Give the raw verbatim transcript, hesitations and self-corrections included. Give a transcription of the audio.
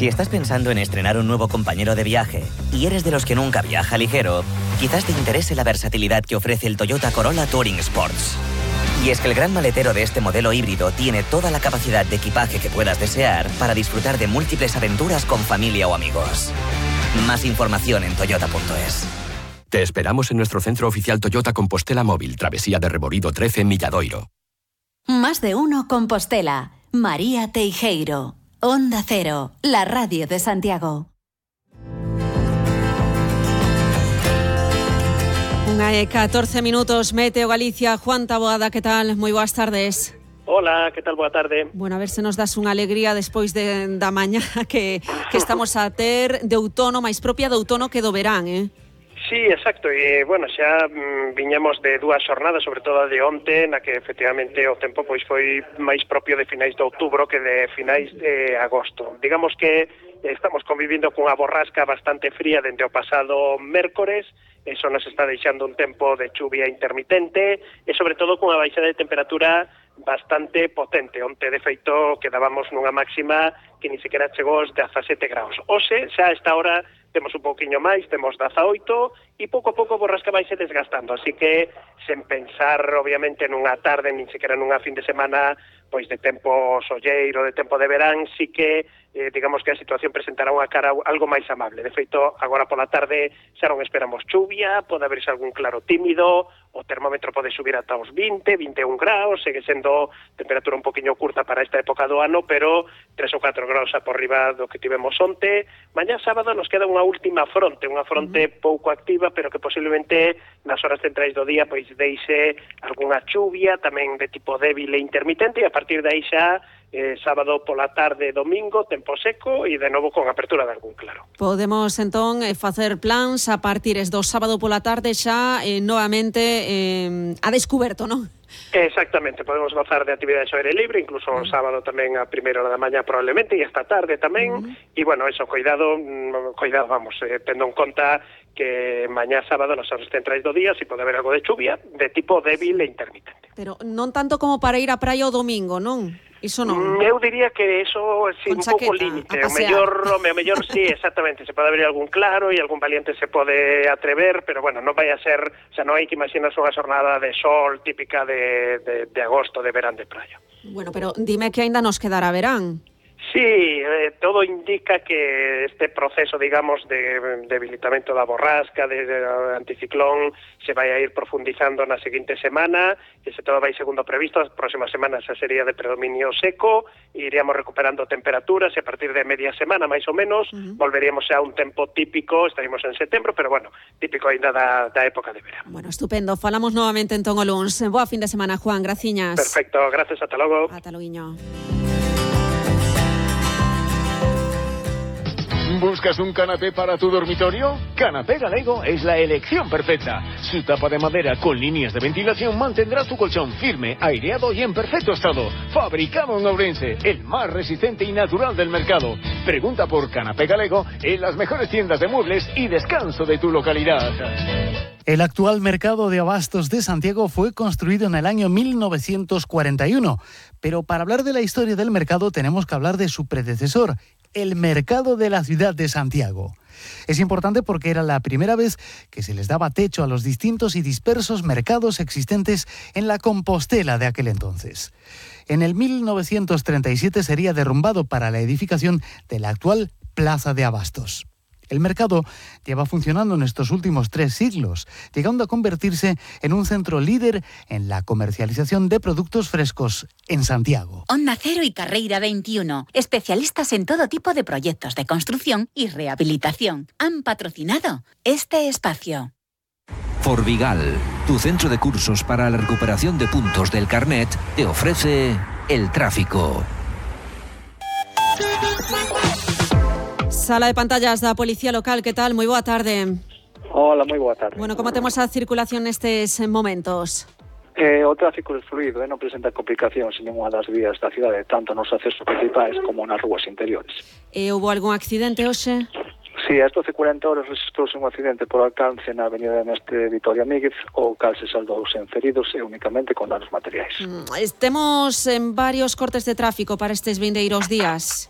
Si estás pensando en estrenar un nuevo compañero de viaje y eres de los que nunca viaja ligero, quizás te interese la versatilidad que ofrece el Toyota Corolla Touring Sports. Y es que el gran maletero de este modelo híbrido tiene toda la capacidad de equipaje que puedas desear para disfrutar de múltiples aventuras con familia o amigos. Más información en toyota punto es. Te esperamos en nuestro centro oficial Toyota Compostela Móvil, Travesía de Reborido trece en Milladoiro. Más de uno Compostela. María Teijeiro. Onda Cero, la radio de Santiago. Unha e catorce minutos, Meteo Galicia. Juan Taboada, que tal? Moi boas tardes. Hola, que tal? Boa tarde. Bueno, a ver se nos das unha alegría despois de, da mañá que, que estamos a ter de outono, máis propia de outono que do verán, eh? Sí, exacto, e, bueno, xa mm, viñamos de dúas xornadas, sobre todo a de onte, na que efectivamente o tempo pois foi máis propio de finais de outubro que de finais de agosto. Digamos que estamos convivindo cunha borrasca bastante fría dende o pasado mércores, eso nos está deixando un tempo de chuvia intermitente e sobre todo cunha baixada de temperatura bastante potente. Onte, de feito, quedábamos nunha máxima que ni sequera chegou aos dezasete graus. Hoxe, xa a esta hora, temos un pouquiño máis, temos dezaoito, e pouco a pouco a borrasca vai se desgastando. Así que, sen pensar, obviamente, nunha tarde, nin sequera nunha fin de semana, pois de tempo solleiro, de tempo de verán, sí que, eh, digamos que a situación presentará unha cara algo máis amable. De feito, agora pola tarde xa non esperamos chuvia, pode haberse algún claro tímido, o termómetro pode subir ata os vinte, vinte e un graus, segue sendo temperatura un poquinho curta para esta época do ano, pero tres ou catro graus a por riba do que tivemos onte. Mañá sábado nos queda unha última fronte, unha fronte uh-huh. pouco activa, pero que posiblemente nas horas centrais do día pois deixe algunha chuvia, tamén de tipo débil e intermitente, e a partir de aí xa eh, sábado pola tarde, domingo, tempo seco e de novo con apertura de algún claro. Podemos entón eh, facer plans a partir do sábado pola tarde xa eh, novamente eh, a descuberto, non? Exactamente, podemos gozar de actividades ao aire libre, incluso o sábado tamén a primeira hora da mañá probablemente, e esta tarde tamén, uh-huh. e bueno, eso, cuidado, cuidado, vamos, eh, tendo en conta que mañá sábado nas horas centrais do día si pode haber algo de chuvia de tipo débil e intermitente. Pero non tanto como para ir á praia o domingo, non? Iso non. Eu diría que eso é sí, un pouco límite. O mellor, o mellor sí, exactamente, se pode abrir algún claro e algún valiente se pode atrever, pero bueno, non vai a ser, o sea, non hai que imaginarse unha xornada de sol típica de, de, de agosto, de verán de praia. Bueno, pero dime que aínda nos quedará verán. Sí, eh, todo indica que este proceso, digamos, de debilitamento da borrasca, de, de anticiclón, se vai a ir profundizando na seguinte semana, e se todo vai segundo previsto, as próximas semanas xa sería de predominio seco, e iríamos recuperando temperaturas, e a partir de media semana, máis ou menos, uh-huh. volveríamos a un tempo típico, estaríamos en setembro, pero bueno, típico ainda da, da época de verano. Bueno, estupendo, falamos novamente entón o luns. Boa fin de semana, Juan, graciñas. Perfecto, gracias, ata logo. Ata loguiño. ¿Buscas un canapé para tu dormitorio? Canapé Galego es la elección perfecta. Su tapa de madera con líneas de ventilación mantendrá tu colchón firme, aireado y en perfecto estado. Fabricado en Ourense, el más resistente y natural del mercado. Pregunta por Canapé Galego en las mejores tiendas de muebles y descanso de tu localidad. El actual mercado de abastos de Santiago fue construido en el año mil novecientos cuarenta y uno, pero para hablar de la historia del mercado tenemos que hablar de su predecesor, el mercado de la ciudad de Santiago. Es importante porque era la primera vez que se les daba techo a los distintos y dispersos mercados existentes en la Compostela de aquel entonces. En el mil novecientos treinta y siete sería derrumbado para la edificación de la actual Plaza de Abastos. El mercado lleva funcionando en estos últimos tres siglos, llegando a convertirse en un centro líder en la comercialización de productos frescos en Santiago. Onda Cero y Carreira veintiuno, especialistas en todo tipo de proyectos de construcción y rehabilitación, han patrocinado este espacio. Forvigal, tu centro de cursos para la recuperación de puntos del carnet, te ofrece el tráfico. Sala de pantallas da Policía Local, que tal? Moi boa tarde. Hola, moi boa tarde. Bueno, como temos a circulación nestes momentos? Eh, o tráfico é fluido, eh, non presenta complicacións en ninguna das vías da cidade, tanto nos accesos principais como nas rúas interiores. E houve algún accidente hoxe? Sí, a estas doce e cuarenta horas registrouse un accidente por alcance na avenida Mestre Vitoria Míguez, o cal se saldouse en feridos e únicamente con danos materiais. Mm, estemos en varios cortes de tráfico para estes vindeiros días.